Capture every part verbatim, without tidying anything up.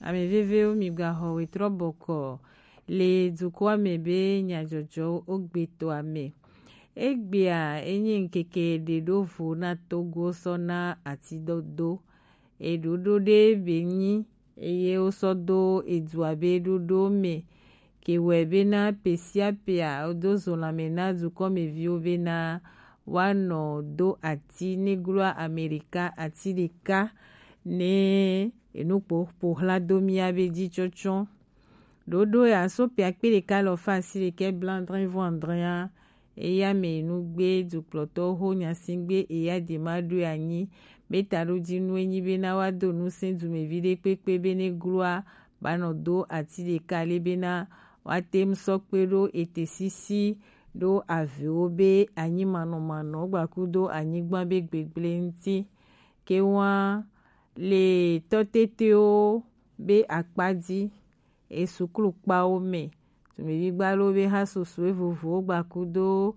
Ame vevewo, mi gba xɔ wetrɔ bɔkɔ le dukɔa me be nyajɔjɔwo o gbe tɔa me. Egbea e nyi ŋkeke ɖe ɖo vo na Togo sɔ na ati dodo. Eɖoɖo ɖe be nyi eye wo sɔ do edua be ɖoɖo me ke wɛ bena pe sia pea wodo zo lanmɛ na dukɔmeviwo bena woanɔ do ati ne gloa Amerika ati ɖeka ne enu kpo ƒo xla do mía be dzi tsɔtsɔ. Ɖoɖo ya so pe akpe ɖeka alafa asiɖekɛ blaadre vɔ adrea. Eya me nugbe dukplɔtɔwo ho nyasingbe eya de ma ɖo anyi be taɖodinu enyi bena woado ŋusẽ dumevi ɖekpekpe be ne gloa banɔ do ati ɖeka le bena woate ŋu sɔ kpe ɖo ete sisi ɖo avewo be anyi manɔmanɔ gbakudo anyigba be gbegble ŋuti. Ke wa le tɔtetewo be akpa dzi, e suklu kpawo me. Dumevi gbalo be ha susue vovowo gbakudo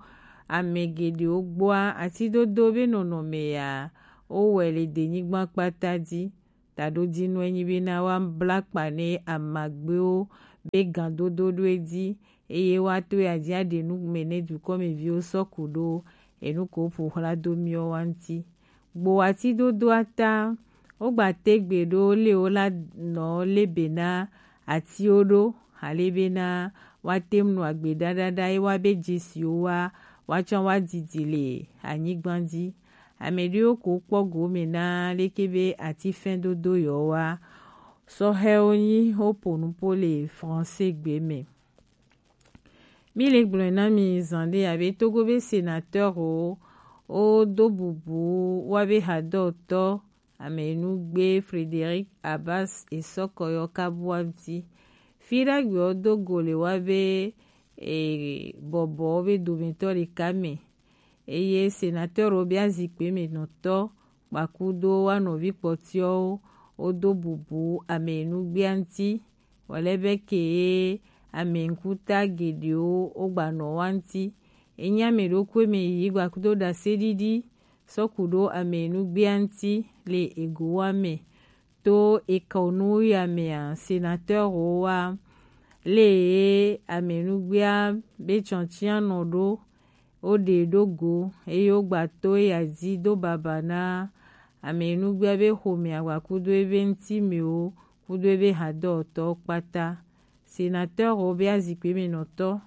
ame geɖewo gbɔa ati dodo be nɔnɔme ya wowɔe le denyigba kpata dzi. Taɖodinu enyi bena woabla kpa ne amagbewo be gan dodo ɖo edzi eye woato ya dzi aɖe nu me ne dukɔmeviwo sɔ ku ɖo enu ko ƒo xla do miwo wa ŋuti. Gbo ati dodoa ta, wogba te gbe ɖo le wo la nɔ le be na atiwo ɖo ale bena woate ŋu nɔ agbe ɖaɖaɖa ye woabe dzesiwo wa woatsɔ woadidi le anyigba dzi. Ame ɖewo ko kpɔ gome na leke be atifɛn dodo yewo wa sɔhɛwo nyi wopo nupo le français gbe me. Mi le gblɔe na mi zan ɖe abe Togo be sénateur wo wodo bubu woabe hadɔtɔ amenugbe Frédéric Abbas esɔkɔyɔ kabua ŋuti. Fi ɖagbe wodo go le woabe e, bɔbɔwo be dometɔ ɖeka me. Eye sénateur wo be azikpe me nɔtɔ kpakudo wa nɔvi kpɔtiɔwo wodo bubu amenugbea ŋuti. Wòle be ke ye ame ŋkuta geɖewo wogbanɔ wa ŋuti. Enye ame ɖokui me yi gbakudo ɖaseɖiɖi sɔ ku ɖo amenugbea ŋuti le egowa me. To ekɔnu ya mea, sénateur wo wa le ye amenugbea be tsɔtsianɔ ɖo woɖe ɖo go eye wogba to eya dzi do baba na amenugbea be xomea gbakudo ebe ŋutimewo kudo ebe hadɔtɔwo kpata. Sénateur wo be azikpe me nɔtɔ,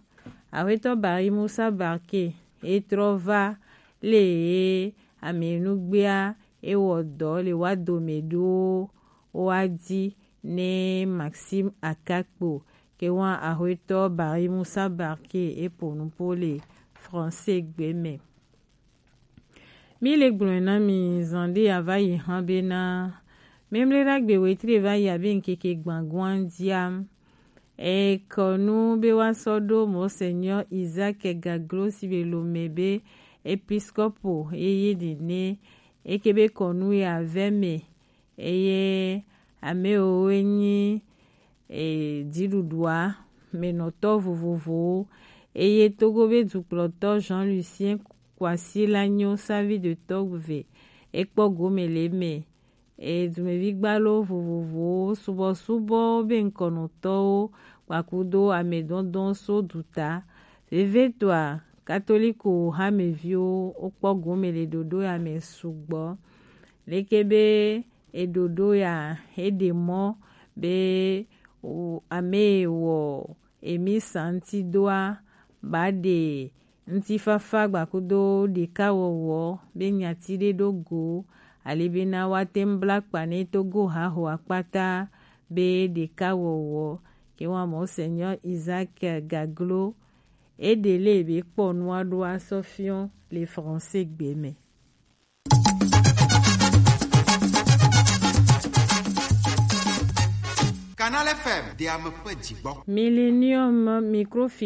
Axwetɔ Barry Musa Barke, e trɔ va le ye amenugbea e wɔ dɔ le wa dome ɖo wa di ne Maxime Akakpo ke wa Axwetɔ Barry Musa Barke e po nupo le français gbe me. Mi le gblɔe na mi zan ɖe ya va yi hã bena, Memle ɖagbe wetri va yi abe ŋkeke gbãgua ŋdia. Ekɔnu be woasɔ ɖo Monseigneur Isaac Gaglo si be lome be episkopo eye nene eke be kɔnu ya vɛ me eye ame wowo nyi e, dziɖuɖua me nɔtɔ vovovowo eye Togo be dukplɔtɔ Jean Lucien Kwasi la nyo savi de tɔgbe ekpɔ gome le me. E, dumevi gbalo vovovowo subɔsubɔ be ŋkɔnɔtɔwo kpakudo amedɔdɔ so duta. Vevietɔa, katoliko hameviwo wokpɔ gome le ɖoɖo ya me sugbɔ. Leke be eɖoɖo ya eɖe mɔ be ame wɔ emi santi doa ba ɖe ŋutifafa gbakudo ɖekawɔwɔ be nyati ɖe ɖo go ali bena woate ŋu bla kpa ne Togo haho akpata be ɖekawɔwɔ ke wa Monseigneur Isaac Gaglo eɖe le be kpɔ nua ɖo asɔ fiɔ le français gbe me. Canal F M de ame ƒe dzigbɔ. Millennium Microfinance